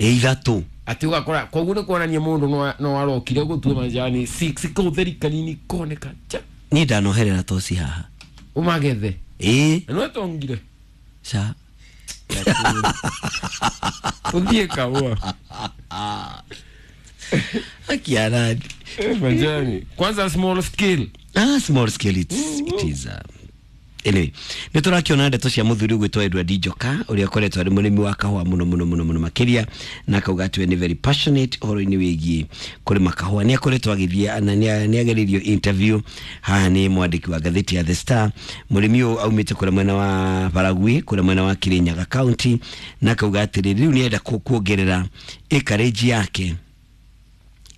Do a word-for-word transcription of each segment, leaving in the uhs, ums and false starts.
Ĩ ithatũ. Atĩ ũgakora koguo nĩ kuonania mũndũ no- no arokire gũtua majani six kau theri kanini koneka cha. Niĩ ndanoherera toci haha. Ũmagethe. Ĩ. Na nĩwetongire. Ca. Ũthiĩ kahũa. Akiarani. Eh, majani kwanza small scale. Ah, small scale, it's, it is uh, anyway, nä tå rakä ndeto cia må thuri gwä Edward Njoka å rä a akoretwo arä må rä mi wa kahũa må no må no må no må no makä na akauga atä we nä very passionate å horo-inä wä giä kå rä ma kahũa. Nä akoretwo agä na nä agereirio interview haha nä mwandĩki wa ngathĩti ya The Star. Mũrĩmi ũyũ aumĩte kũrĩa mwena wa Baragwi, kũrĩa mwena wa Kirinyaga County, na akauga atĩrĩrĩ, rĩu nĩ enda kuongerera acreage yake,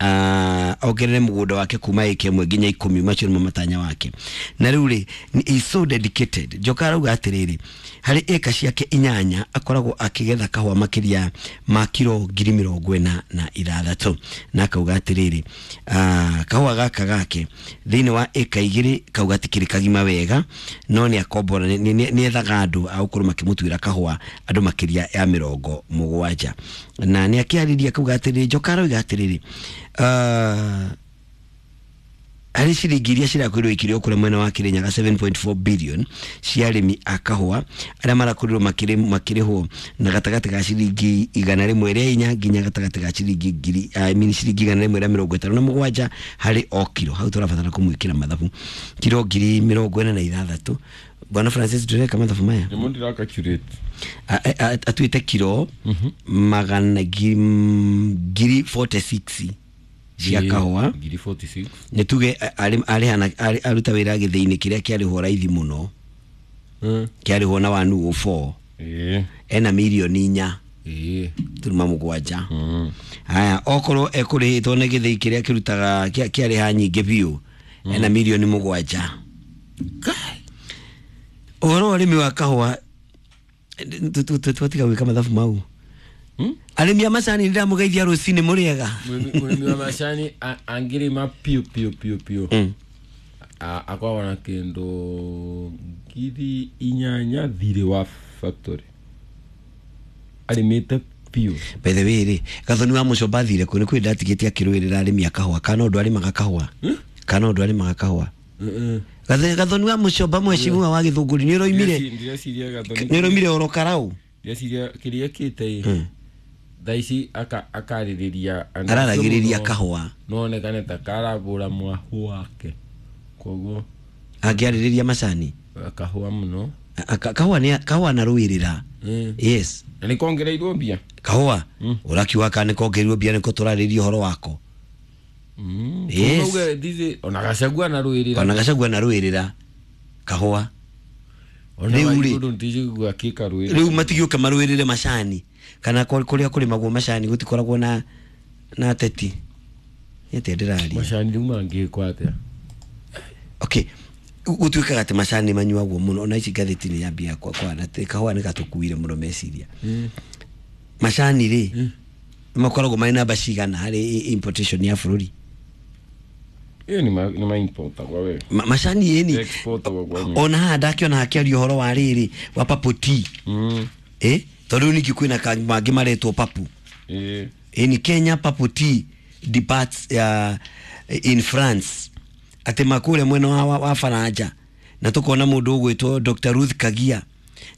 uh, ongerere mũgũnda wake kuma ĩka ĩmwe nginya ikũmi. Macio nĩmo matanya wake. Na rĩu rĩ, is so dedicated. Njoka arauga atĩrĩrĩ, harĩ ĩka ciake inyanya akoragwo akĩgetha kahũa makĩria ma kiro ngiri mĩrongo ĩna na ithathatũ, na akauga atĩrĩrĩ, uh, kahũa gaka gake thĩinĩ wa ĩka igĩrĩ kauga gatikĩrĩ kagima wega, no nĩ akombora, nĩ ethaga andũ a gũkorwo makĩmũtuĩra kahũa, andũ makĩria ya mĩrongo mũgwanja. Na nĩ akĩarĩria akauga atĩrĩrĩ, Njoka arauga atĩrĩrĩ, uh, harĩ ciringi iria cirakorirwo ikĩrĩo kũrĩa mwena wa Kirinyaga seven point four billion cia arĩmi a kahũa arĩa marakorirwo makĩrĩhwo na gatagatĩ ga ciringi igana rĩmwe rĩa inya nginya gatagatĩ ga ciringi ngiri, I mean, ciringi igana rĩmwe rĩa mĩrongo ĩtano na mũgwanja harĩ o kiro. Hau tũrabatara kũmwĩkĩra mathabu, kiro ngiri mĩrongo ĩna na ithathatũ. Bwana Francis, ndũreka mathabu maya? Nĩmo ndĩra. Atuĩte kiro magana ngiri mĩrongo ĩnana na ithathatũ cia kahũa. Ngiri mĩrongo ĩnana na ithathatũ. Nĩ tuge arĩhana aruta wĩra gĩthĩi-inĩ kĩrĩa kĩarĩhwo raithi mũno, kĩarĩhwo na one oh four, ena mirioni inya turuma mũgwanja. Haya, okorwo ekũrĩhĩtwo nĩ gĩthĩi kĩrĩa kĩrutaga kĩarĩha nyingĩ biũ, ena mirioni mũgwanja. Ũhoro wa ũrĩmi wa kahũa, twatiga gwĩka mathabu mau. Arĩmi a macani, ndĩramũgeithia rũcinĩ mũrĩega. Mũrĩmi wa macani angĩrĩma piũ piũ piũ piũ, akoragwo na kĩndũ ngiri inyanya thirĩ wa factory arĩmĩte piũ. By the way rĩ, Gathoni wa Mũcomba athire kũ? Nĩ kwĩ ndatigĩte akĩrũĩrĩra arĩmi a kahũa, kana ũndũ arĩmaga kahũa, kana ũndũ arĩmaga kahũa. Gathoni wa Mũcomba, mheshimiwa wa Gĩthũngũri, nĩ ũroimire, nĩ ũroimire oro karau. Ndĩreciria kĩrĩa kĩte ĩ thaa ici akarĩrĩria. Araragĩrĩria kahũa. No onekane ta karabũra mwahu wake, koguo angĩarĩrĩria macani. Kahũa mũno. Kahũa nĩ kahũa na rũĩrĩra, yes. Na nĩ kongereirwo mbia. Kahũa ũrakiuga kana nĩ kongereirwo mbia, nĩko tũrarĩria ũhoro wako. Yes. Ona Gacagua na rũĩrĩra. Ona Gacagua na rũĩrĩra kahũa. Rĩu rĩ, rĩu matigĩũke marũĩrĩre macani, kana kũrĩa kũrĩmagwo macani gũtikoragwo na na ateti nĩ atĩa ndĩraria? Macani rĩu mangĩkwo atĩa? Okay, gũtuĩkaga atĩ macani manyuagwo mũno. Ona ici ngathĩti nĩ yambia kwana kahũa nĩ gatũkuire mũno meciria. Macani rĩ, makoragwo marĩ namba cigana harĩ importation ya bũrũri? Ĩyo nĩ ma importagwo we. Macani ĩni ona haha ndakĩona hakĩaria ũhoro wa rĩrĩ wa purple tea, eh tondũ rĩu ningĩ kwĩna mangĩ maretwo purple. Ĩni Kenya purple tea departs uh, in France, atĩ makũrĩa mwena wa, wa, wa Faranja, na tukona mũndũ ũgwĩtwo Doctor Ruth Kagia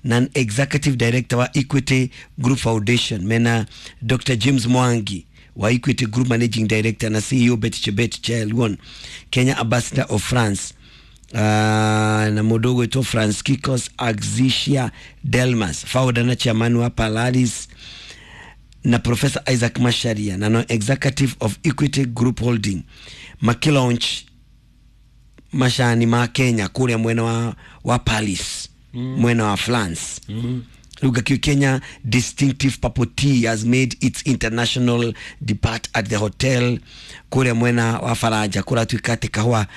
na executive director wa Equity Group Foundation, mena Doctor James Mwangi wa Equity Group Managing Director na C E O Betty Chebet Chelwon, Kenya Ambassador of France, uh, na mũndũ ũgwĩtwo Franciscus Axisia Delmas, founder na chairman wa Palaris, na Professor Isaac Macharia na no executive of Equity Group Holding, makilaunch macani ma Kenya kũrĩa mwena wa, wa Paris, mm. mwena wa France. mm. Rĩu ngakĩo Kenya distinctive purple tea has made its international depart at the hotel kũrĩa mwena wa Faranja. Kũratuĩka atĩ kahũa,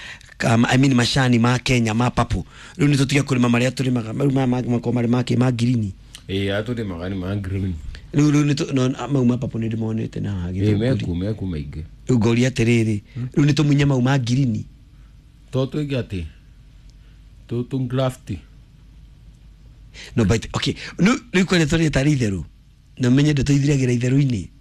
um, I mean, macani ma Kenya ma purple, rĩu nĩ tũtige kũrĩma marĩa tũrĩmaga rĩu, maya mangĩ makorwo marĩ make ma green. Ĩĩ, atũrĩmaga nĩ ma green. Rĩu rĩu nĩ no mau ma purple nĩ ndĩmonete na haha Gĩthũngũri meku meku maingĩ. Rĩu ngoria atĩrĩrĩ, rĩu nĩ tũmunye mau ma green? To twĩke atĩ tũ graft. No, but okay, no rĩu kwene tũrĩ tarĩ itherũ na menye ndeto ithiragĩra itherũ-inĩ.